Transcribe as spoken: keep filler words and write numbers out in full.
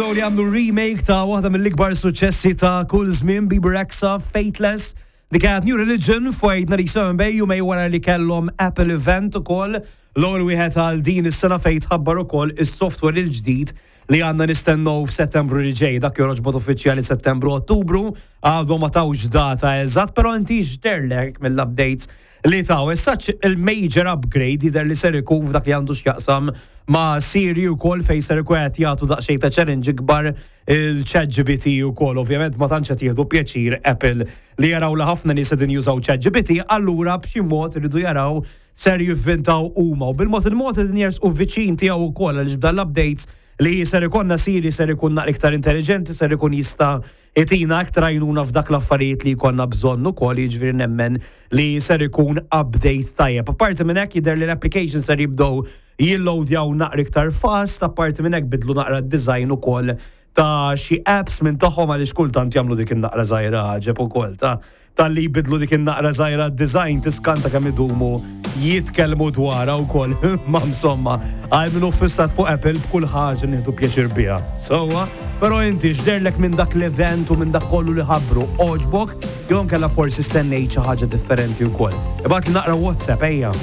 Li għamlu remake ta' waħda mill-ikbar suċċessi ta' kull żmien, Bebe Rexha, Faithless. Dik kienet New Religion fuq eight ninety-seven Bay, jumejn wara li kellhom Apple event ukoll. L-ewwel wieħed għal din is-sena fejn tħabbar ukoll is-software il-ġdid li għandna nistennew f'Settembru li ġej, dak joħroġ b'mod uffiċjali Settembru, Ottubru, għadhom ma tawx data eżatt, però inti x'dehrlek mill-updates li taw? Issa il-major upgrade jidher li ser ikun f'dak li għandu x'jaqsam ma' Siri ukoll, fejn ser ikun qed jagħtu daqsxejn ta' challenge ikbar il-Chat G P T ukoll. Ovvjament ma tantx qed jieħdu pjaċir Apple li jaraw li ħafna nies qegħdin jużaw Chat G P T, allura b'xi mod iridu jaraw ser jivvintaw huma. U bil-mod il-mod qegħdin jersqu viċin tiegħu wkoll, għaliex b'dan l-updates li ser ikonna, Siri ser ikun naqra iktar intelligenti, ser ikun jista' jtina aktar għajnuna f'dak l-affarijiet li jkollna bżonn ukoll, jiġifieri nemmen li ser ikun update tajjeb. Apparti minn hekk, jidher li l-application ser jibdew jilloadjaw naqra iktar fast, apparti minn hekk bidlu naqra d-design ukoll ta' xi apps minn tagħhom, għaliex kultant jagħmlu dik in-naqra żgħira ġeb ukoll ta' tal-li jbidlu dik in-naqra żgħira design, tiskanta kemm idumu jitkellmu dwarha wkoll. Ma insomma, għal min fissat fuq Apple, b'kull ħaġa nieħdu pjaċir biha. Sewwa, però inti x'dehrlek minn dak l-event u minn dak kollu li ħabbru? Għoġbok jew kella forsi stennejt xi ħaġa differenti wkoll? Ibgħatli naqra WhatsApp, ejja.